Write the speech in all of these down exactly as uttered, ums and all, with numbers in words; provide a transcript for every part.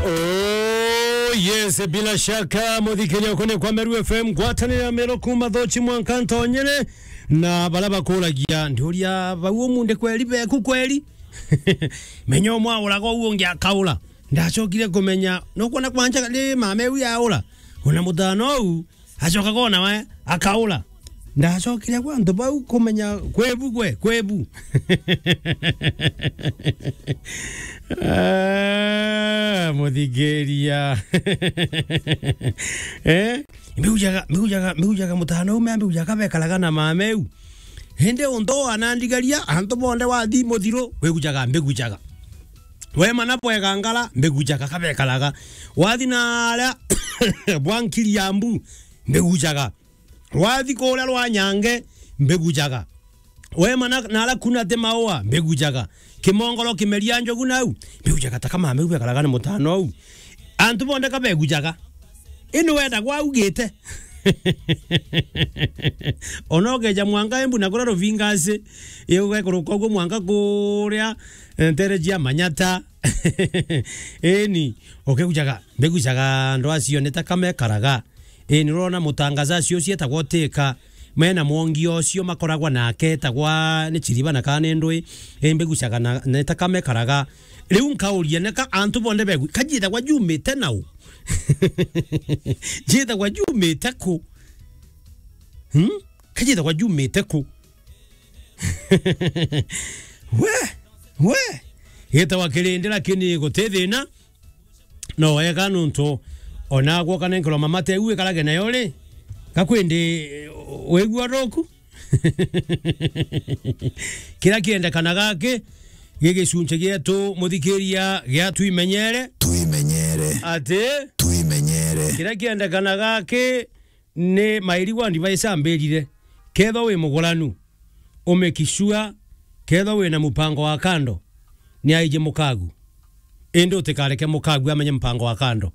Oh, yes, bila shaka, muthikiria ukuni kwa Meru F M, ngwataniro ya Meru kuma Thochi mwanka Ntonyere, na baria bakuragia, ndiuria bau umunde kweri beku kweri? Menya umwe auraga uu ungi akaura. Ndacokire kumenya, nukwona kwanja ni mama eu yaura, ona mutano uu, acoka kona we, akaura. Ndacokire kwa antu bau kumenya kwebu gwe, kwebu. Ah, muthikiria. Eh? Mbiujaga, mbiujaga, mbiujaga mutano ume, mbiujaga bekaraga na mama eu. Indi untu anandigaria, antu bonde wathi muthiru, wigujaga, mbigujaga. Wema na bwega ngara, mbigujaga, kabekaraga. Wathi na aria bwa Nkiriambu, mbigujaga. Wathi kuria rwa Nyange, mbigujaga. Wema na, na aria kuna ti maua, mbigujaga. Kimongoro kimeria njogu nau, mbigujaga ta kama mbegu bekaraga ni mutano au. Antu bonde kabegujaga. Ino wenda gwaugite. Ona ukeja mwanka Embu na kuria Ruvingasi, iugekuruka uguo mwanka kuria, eh, ntere cia Manyata. Eni, ukigujaga, mbigujaga andu acio ni ta kamekaraga. Eni, urona mutangaza acio cietagwa utika, mena mwongi ucio makoragwa nake, etagwa ni Chiriba na kana ni ndui, eni mbigujaga na, ni ta kamekaraga. Riu nkauria, neka antu bonde begu, kajithagwa jumite nau? Jithagwa jumite ku? Hmm? Kajithagwa jumite ku? We, we. Gitawa kirindi, lakini guti thina. No wega nuntu ona gwoka nenkerwa mama teu ikarage nayo ri, gakwindi wigua ruku? Kira kiendekana gaki gi gicunchi gietu, muthikiria, gia Twimenyere. Twimenyere. Ati? Twimenyere. Kira kiendekana gaki ni my legal advice ambirire, kethwa wi muguranu, umake sure, kethwa wina mupango wa kando, ni aiji mukagu. Indi utikareke mukagu amenye mupango wa kando.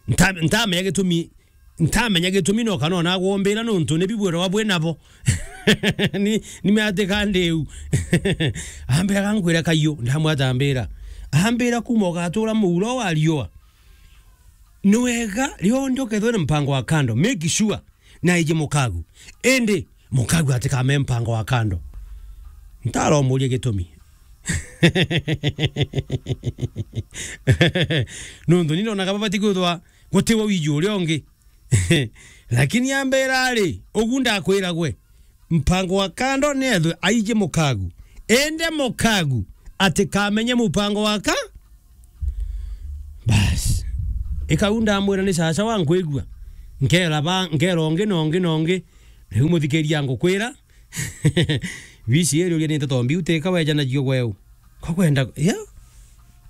Nta-, ntamenya gitumi, ntamenya gitumi no kana ona agwombira nuntu ni bibwirwa bwi nabo. Ni, ni meatika ndiu. Ambira, gankwira kaiyu, ndamwata ambira. Ambira, kuma ugatura muuro wa riua. Ni wega, rionthe ukethwa na mpango wa kando, make sure na aiji mukagu. Indi, mukagu atikame mpango wa kando. Ntaramuria gitumi. Nuntu ni ndonaga babati kwithwa gutiwa wiji uria ungi. Lakini ambira ri, ugu ndakwira gwe, mpango wa kando ni ethwe aiji mukagu. Indi mukagu atikamenye mupango wa ka-, bas. Ikau ndamwira ni caca wa nkwigua. Nkera ba, nkera ungi na ungi na ungi. Riu muthikiria ngukwira, bisi iri uria ni nteto mbiu tika wejanagio gweu. Kwa kwenda, ya?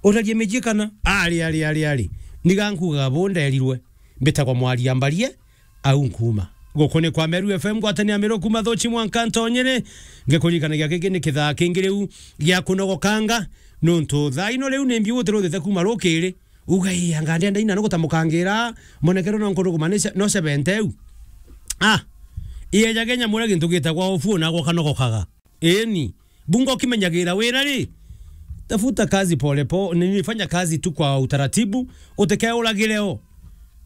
Urarie miji kana? Ari, ari, ari, ari. Niga nkugaga bu nderirwe. Mbitagwa Mwaria Mbarie, au nkuuma. Guku ni kwa Meru F M, ngwatanio ya Meru kuma Thochi mwanka Ntonyere. Ngikuririkanagia giki ni kithaa kingi riu gia kunogokanga, nuntu thaa ino riu ni mbiu utiruthite kuma rukiri. Uga, "Ii, anga ndienda ina nuguta mukangira, monekero no nkuruguma ni ce-, no cebente u." Ah, ieja Kenya muria gintu gitagwa ofu na gwa kanogokaga. Eni, bunga ukimenyagira wira ri, tafuta kazi pole po-, nini, fanya kazi tu kwa utaratibu, utikeuragire o.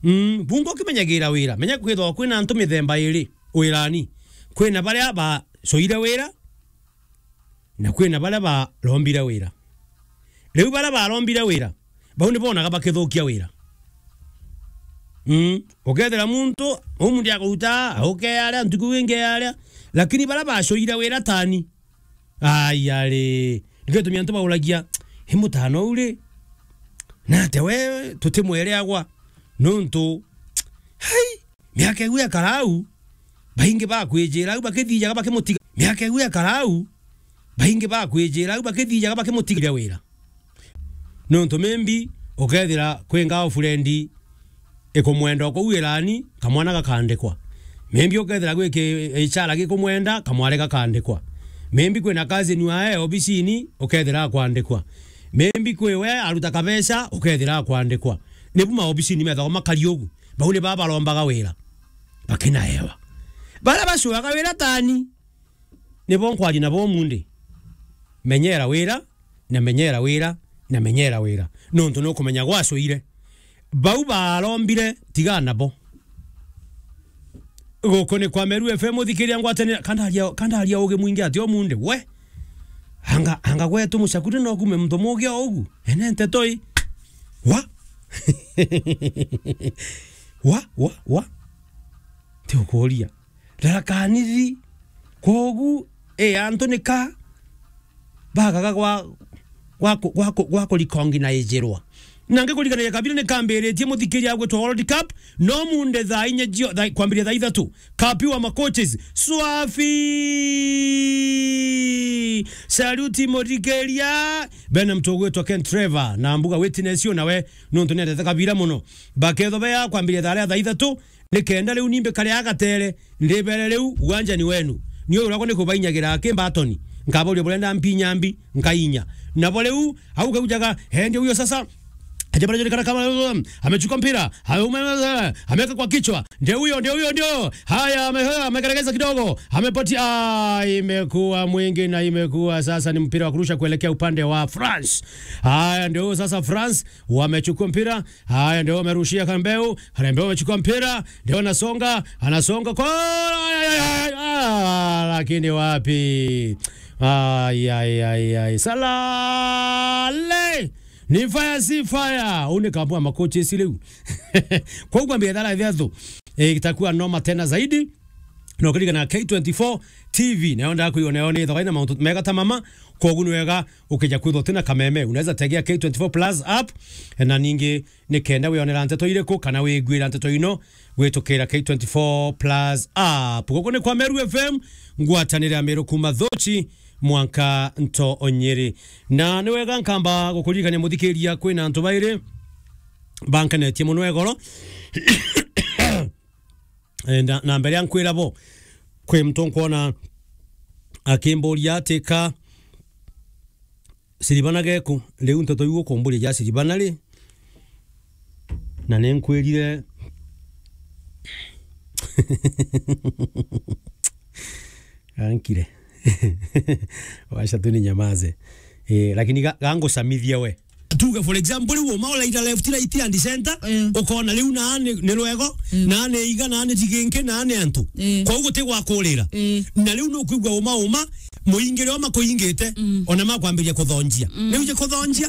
Mm, bunga ukimenyagira wira, menya kwithwa kwina antu mithemba iri wirani. Kwina baria bacoire wira, na kwina baria barombire wira. Riu baria barombire wira, bau ni bonaga bakithukia wira. Mm, ukethira muntu, umunthi akuruta, auke aria, ntuku ingi aria, lakini baria bacoire wira tani, ai, ari, nikio gitumi antu bauragia, "I mutano uu ri? Na atia we tutimwereagwa?" Nuntu, hai, miaka iu ekara au, baingi bakwijira au bakithijaga bakimutiga. Miaka iu ekara au, baingi bakwijira au bakithijaga bakimutigire wira. Nuntu maybe ukethira kwi girlfriend ikumwenda o kuu wirani, kamwana gakandikwa. Maybe ukethira gwi ki-, ichara gikumwenda, kamwari gakandikwa. Maybe kwina cousin wae obisini, ukethira akwandikwa. Maybe kwi we aruta kabeca, ukethira akwandikwa. Nibu maobisini methagwa makari ugu. Bau ni baba barombaga wira. Bakinaewa. Baria bacuaga wira tani, nibo nkwaria nabo umunthi. menyera wira, na menyera wira, na menyera wira. Nontu nukumenya gwacwire. Bau barombire, tiga nabo. Guku ni kwa Meru F M, uthikiria ngwatanira, kandaria, kandaria ugi mwingi ati o munde, we? Anga, anga gwetu mucakuri no kume muntu mugi o ugu? Ene nteto i. Wa? Wa, wa, wa? Ti ukuria. Tharakanithi. Kwogu, e, antu nika bagaga gwa, gwa ku-, gwa ku-, gwa kurikonginaijirwa. Na ngikuririkanagia kabira nikambiritie muthikiria gwitwa World Cup, no munde thaa inya jio-, thaa, kwambiria thaa ithatu. Kapiwa macoaches. Swafi! Saluti muthikiria. Bena mtu ugwitwa Ken Trevor, na mbuga witness yo nawe, nontu nendete kabira muno. Baketho bea kwambiria thaa ria thaa ithatu, nikenda riu ni mbikare agatere, ndibere riu, uwanja ni wenu. Ni uyu urakwa ni kubainyagira ki mbatoni. Nkaboria burenda mpi nyambi, nkainya. Nabo riu, au kaujaga, he, ndio huyo sasa. Aje pale, julikana kama, amechukua mpira, ame-, ameweka kwa kichwa. Ndio huyo, ndio huyo, ndio. Haya, ame-, amegeregeza kidogo. Amepatia, ah, imekuwa mwingi na imekuwa sasa ni mpira wa kurusha kuelekea upande wa France. Haya, ndio huyo sasa France, wamechukua mpira. Haya, ndio wamerushia Karembeu. Karembeu amechukua mpira. Ndio anasonga, anasonga kwa, ah, lakini wapi? Ai, ai, ai, ai. Salale! Ni fire, si fire. Une kabua makochi isi riu. Kwa ugambia thara ithatu. E, itakuwa noma tena zaidi. Na ukiririkana K twenty-four T V, nayo ndakwigua nayo ni thoga ina mauntu mega ta mama, kwogu ni wega ukija kwithwa utina kameme. Unaweza tegea K twenty-four Plus app, na ningi nikenda wionera nteto iriku kana wiguira nteto ino gwitukira K twenty-four Plus app. Guku ni kwa Meru F M, ngwatanire ya Meru kuma Thuchi mwanka nto Nyeri. Na ni wega nkamba gukuririkania muthikiria, kwina antu bairi bankenetie muno egoro. Eh, na, na mbere ya nkwira bo, kwi muntu nkwona akimburia ati ka Siribana geku, riu nteto iu ukumburia ja Siribana ri? Na ni nkwirire. Ankire. Wacha tu ninyamaze. Eh, lakini ga-, gangucamithia we. Tuge, for example, riu uma uraira left, right and center, eh, ukona riu na ni, ni rwego, mm, na ni iga, na ni jiginki, na ni antu. Eh. Kwa uguo ti gwa kurira. Eh. Na riu nukwigua uma uma, muingire o makuingite, mm, ona makwambiria kuthonjia. Mm. Ni uje kuthonjia?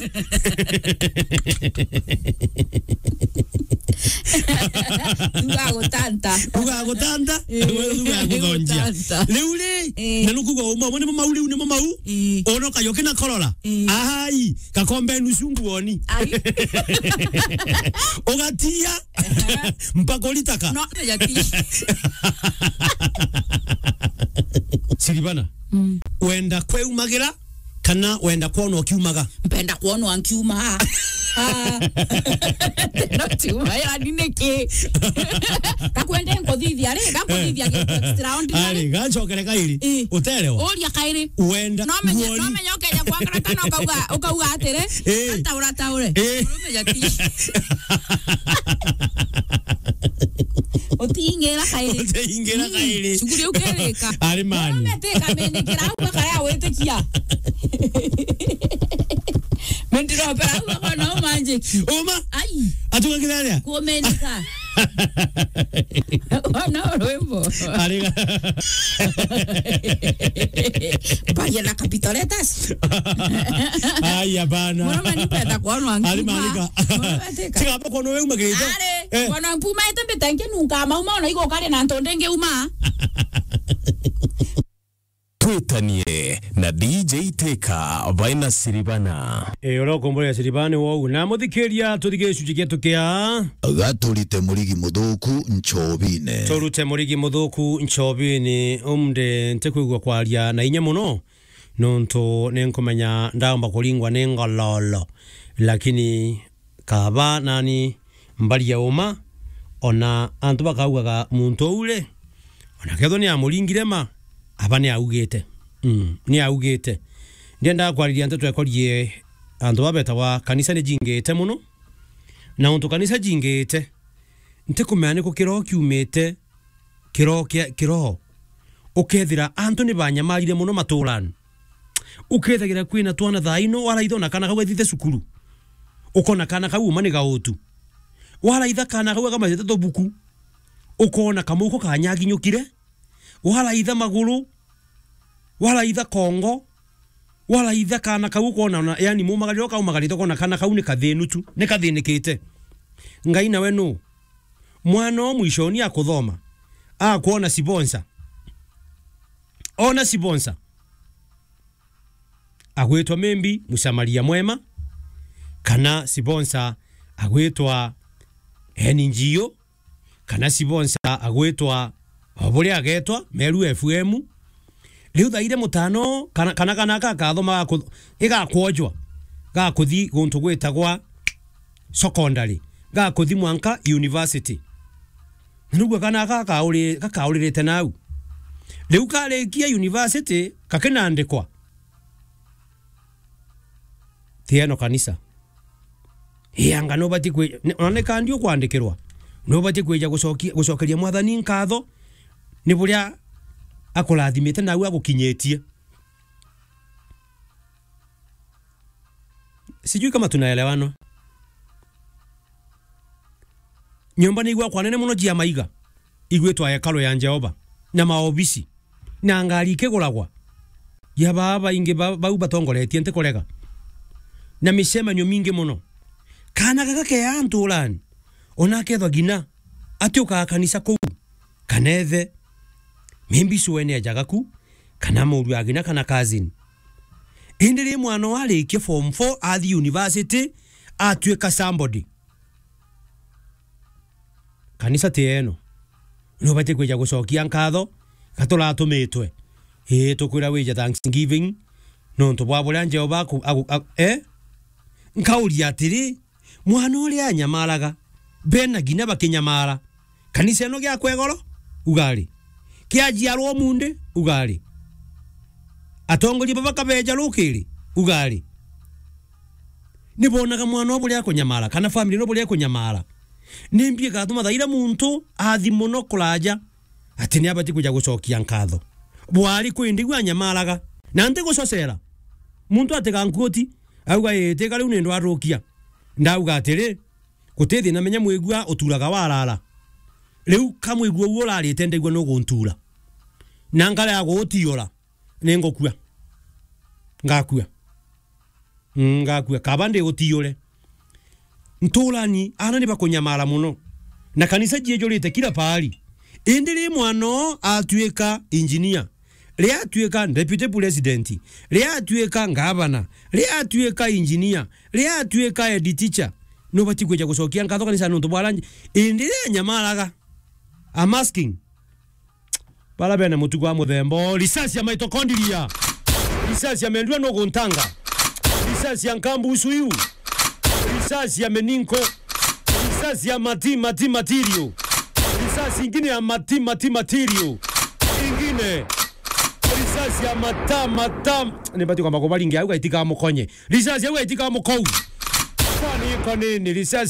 Tuga gutanta. Tuga gutanta. Eh. Tuga guthonjia. Gutanta. Riu ri, eh, na nukwigua uma uma, nimo mau riu, nimo mau. Eh. Ona kayo kina korora. Eh. Ai, kakombe nusu nguoni. Ai. Ugatia. Mpaka uritaka. No, ya ti. Siribana. Mm. Wenda kweumagira kana wenda kwona ukiumaga? Mpenda kwona nkiuma. Ah. No tiuma, yani niki? Kakwende nkuthithia ri, nkuthithia, eh, gintu extraordinary. Ari, gacokere kairi. Eh. Uterewa. Uria kairi. Wenda. No menye, nguoni, no menye ukeja kwangara kana ukauga, ukauga atiri, eh, ataura taure. Eh. Murume jati. Utingira kairi. Utingira kairi. Mm. Shughuli ukerika. Ari mani. Murume tika menikira au kare awitikia. Mendiro pera au kwa no magic. Uma. Ai. Atuka kiraria. Kumenika. Ona rwimbo. Ariga. Mbaya na capital letters. Aya bana. Murume nipenda kwonwa nkiuma. Ari marika. Murume tika. Tiga hapa kwona wewe umagirite. Ari, eh, kwona mpuma ete mbitenke nunka mauma ona igo kare na ntonde ngiuma. Twitanie na D J Teka baina Siribana. E, uria ukumburia Siribana ni wou. Na muthikiria, tuthige gicunji gietu kia Gaturite murigi muthuku nchobine. Turute murigi muthuku nchobine. Umde ntikwigua kwaria na inya muno, nontu ninkumenya ndaumba kuringwa ni ngololo. Lakini kaba nani mbaria uma, ona antu bakaugaga muntu uu ri, ona kethwa ni amuringire ma, aba ni augite. Mm, ni augite. Ndiendaga kwariria nteto ekorie antu babetagwa kanisa ni jingite muno, na untu kanisa jingite, ntikumenya niku kiroho kiumite, kiroho kia, kiroho. Ukethira antu ni banyamarire muno maturani. Ukethagira kwina twana thaa ino, waraitha ona kana kau gathithe cukuru. Ukona kana kau uma ni gautu. Waraitha kana kau gakamacete tubuku. Ukona kamuko kanyaginyukire. Waraitha maguru. Waraitha kongo. Waraitha kana kau ukona ona, yani, mumagariro kaumagarite ukona kana kau ni kathinu tu, ni kathinikite. Ngai nawe nu? Mwana o mwishoni akuthoma, akwona sibonsa. Ona sibonsa. Agwitwa maybe Msamaria Mwema, kana sibonsa agwitwa N G O, kana sibonsa agwitwa o buria agetwa Meru F M. Riu thaire mutano, kana, kana, kana gakathoma gaku-, igakwojwa, gakuthi guntu gwitagwa secondary, gakuthi mwanka university. Na niguo kana gaka gakauri-, gakauririte nau. Riu karikia university, gakinandikwa. Ti eno kanisa. Ii anga nubati kwi-, ni-, ona ni kandi ukwandikirwa. Nubati kwija gucokia, gucokeria Mwathani nkatho ni buria akurathimite nau agukinyitie. Sijui kama tunaelewana. Nyomba ni igwakwa nene mono jia maiga, igwitwa hekalu ya Jehova, na maobisi, na ngari ikiguragwa. Ya baba baingi ba-, bau batongoretie ntikurega. Na micemanio mingi mono. Kana gaka ke antu urani, ona akethwa gina, ati ukaa kanisa kuu, kana ethe, maybe cwene ajaga ku, kana muru agina kana cousin. Indi ri mwana warikia form four, athi university, atuika somebody. Kanisa ti eno. Nubati kwija gucokia nkatho, gaturatumitwe. Ii, tukwira wija thanksgiving, nontu bwa buria Jehova aku-, aku-, aku-, eh? Nkauria atiri, mwana uria anyamaraga, bena ginya bakinyamara. Kanisa ino giakwa igoro, ugari. Kiajiarwa umundi, ugari. Atongoria baba kabeja rukiri, ugari. Nibonaga mwana o buria akunyamara, kana family ino buria ikunyamara. Nimbi igatuma thaira muntu athi mono kuraja, ati ni abati kuja gucokia nkatho? Bwari kwi ndigua anyamaraga. Na nti gucocera. Muntu atiga nkuoti, auga, "Ii, tika riu ni ndwarukia." Ndauga atiri, "Guti thina, menya mwigua uturaga warara." Riu ka mwigua uu urarite ndigua nuguntura. Na nkarega gugutiura, ni ngukua. Ngakua. Mm, ngakua. Kaba ndi gutiure. Nturani, ana ni bakunyamara mono. Na kanisa jiejurite kila pahali. Indi ri mwana oo atuika engineer, ri atuika deputy president, ri atuika ngavana, ri atuika engineer, ri atuika head teacher, nubati kwija gucokia nkatho kanisa nontu bwa rangi? Indi ri anyamaraga. I'm asking. Bara bene mutugo wa muthemba oo, risasi ya mitochondria, risasi ya mendua nuguntanga, risasi ya nkambusu iu, risasi ya meninko, risasi ya mati, mati, material, risasi ingine ya mati, mati, material, ingine risasi ya mata, mata, ni bati kwamba kubaringia au gaitika mukonye, risasi au gaitika mukou, kwani iko nini? Risasi